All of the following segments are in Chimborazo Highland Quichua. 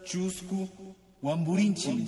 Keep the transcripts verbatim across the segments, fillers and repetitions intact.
Chusku Wamburinchi.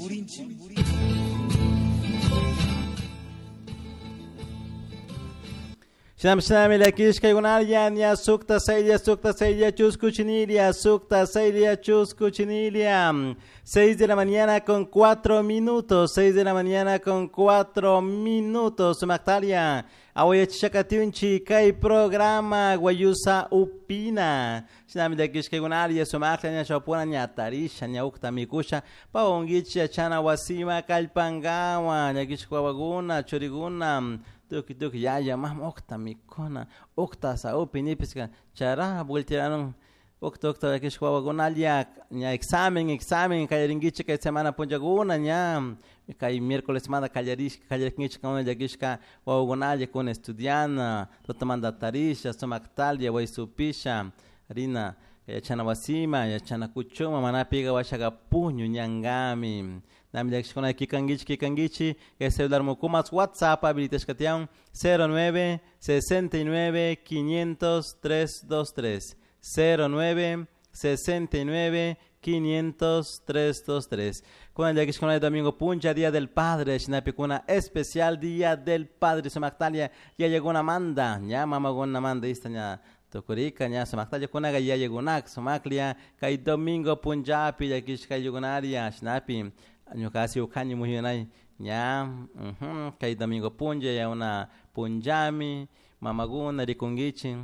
Shinam shinami lakishka gunarya nya sukta saylia sukta saylia chusku chinilia sukta saylia chusku chinilia. Seis de la mañana con cuatro minutos, seis de la mañana con cuatro minutos. Sumactalia, awayachishakatiunchi kay programa Guayusa Upina. Shinami lakishka gunarya sumakla nya chapuna nya tarisha nya ukta mikusha paongichi achana wasima kalpangawa llakishka wawaguna churiguna. Tuki tuki yaya mam okta mikuna okta saupi nipiska chara vueltiraron okta okta llakishka wawagunalia ña examen examen kallarinkichik kay semana punllakuna ña kay miércoles semana kallarishka kallarinkichik kuna llakishka wawagunalia kuna estudiana tutamanta tarisha sumaktalia waysupisha rina yachana wasima yachana kuchuma manapiga washaka puñu ñankami. Nami llakishkuna kikankichik kikankichik kay celular mukumas WhatsApp habilitashkatiyan cero nueve sesenta y nueve quinientos tres dos tres cero nueve sesenta y nueve quinientos tres dos tres. Kuna llakishkuna domingo puncha Día del Padre shinapi kuna especial Día del Padre sumaktalia yayakuna manda ña mamakuna manda ista ña tukurika ña sumaktalia kunaqa yayakunak sumaklia kay domingo punchapi llakishka ayllukunaria shinapi ñuka asi ukani muyunay ña uh-huh, kay domingo puncha ya una punchami mamakuna rikunkichik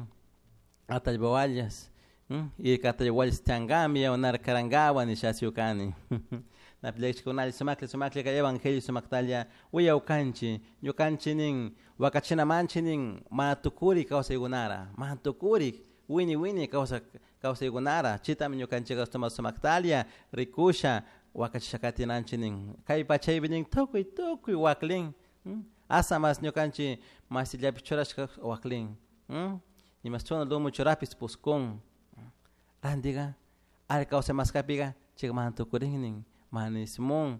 atallpawallas y atallpawallas tiyankami ya unar karankawa nisha asi ukani. Napi llakishkunalla sumaklla sumaklla kay evangelio sumaktalia uyawkanchik ñukanchik nin wakachinamanchik nin mana tukurik kawsaykunara mana tukurik wini wini kawsa kawsaykunara chitami ñukanchik tuma sumaktalia rikusha wakachishakatinanchik nin kay pachaypi nin tukuy tukuy waklin asa mas ñukanchik masillapi churashka waklin imashchuna lumu churapis puskun rantiqa ari kawsay maskapiqa chayka mana tukurin nin mana ismun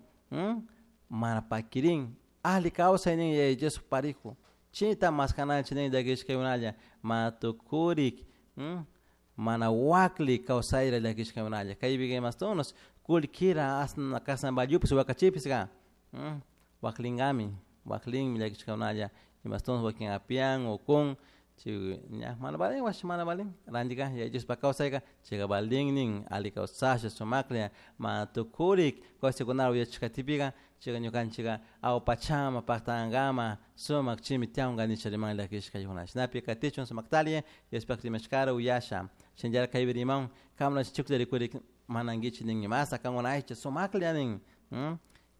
mana pakirin alli kawsay nin Yaya Dios parijo chita maskananchik nin llakishkaykunalla mana tukurik mana wakli kawsayra llakishkaykunalla kaypika imastunos kullkira asna kasna vallupis wakachipisqa waklinkami waklinmi llakishkaykunalla imastunos wakin apian ukun chay ña mana valin washa mana valin rantika Yaya Diospak kawsayka chayka valin nin alli kawsasha sumaklla mana tukurik kawsaykunata uyachishkatipika chayka ñukanchika awpachama paktankama sumak chimi tiyanka nisha riman llakishkaykunalla shinapi katichun sumaktalia Diospak rimashkara uyasha shinallara kaypi riman kamna chuklla rikurik manankichik nin imasa kankuna aycha sumaklla nin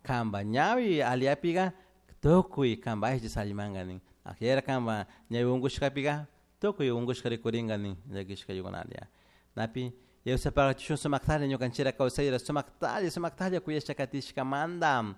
kanpa ñawi alliapika tukuy kanpa aycha sallimanka nin ajera kanpa ñawi unkushkapika tukuy unkushka rikurinka nin llakishkaykunalla napi Yawsapaqachishun sumaktalla ñukanchira kawsayra sumaktalla sumaktalla kuyasha katishkamanta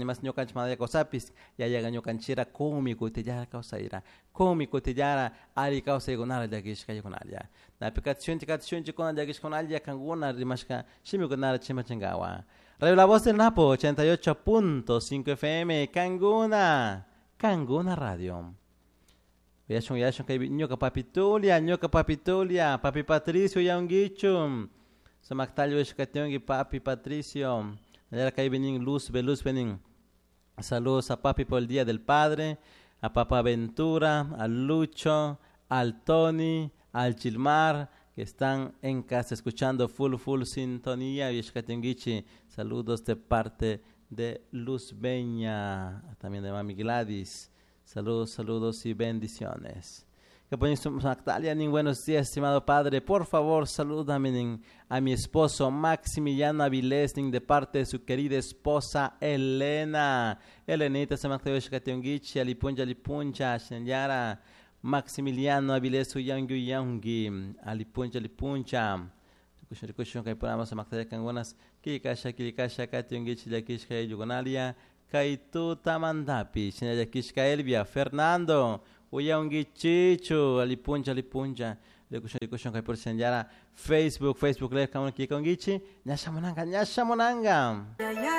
imas ñukanchik manalla kawsapis yayaqa ñukanchira kunmi kutillara kawsayra kunmi kutillara alli kawsaykunara llakishkaykunalla napi katishunchik katishunchik kuna llakishkunalla kankuna rimashka shimikunara chimpachinkawa. Radio La Voz del Napo ochenta y ocho punto cinco F M Kanguna Kanguna Radio. Uyashun uyashun kaypi ñuka papitulia ñuka papitulia papi Patricio uyankichu sumaktalla uyashkationki papi Patricio. Nallara kaypi nin Luz Luz nin saludos a papi por el Día del Padre, a Papa Ventura, al Lucho, al Tony, al Gilmar, que están en casa escuchando full full sintonía. Uyashkationkichi saludos de parte de Luz Beña, también de Mami Gladys. Saludos, saludos y bendiciones. Que buenos días, estimado padre. Por favor, salúdame a mi esposo Maximiliano Avilés de parte de su querida esposa Elena. Elenita, alipuncha, alipuncha, señora Maximiliano Avilés, uyangi, uyangi, alipuncha, alipuncha. Kay tutamantapi shinallakishka Elvia Fernando uyankichichu alipuncha alipuncha rikushun rikushun kay por señalara Facebook Facebook live kamun kikongichi ñashamunanka ñashamunanka.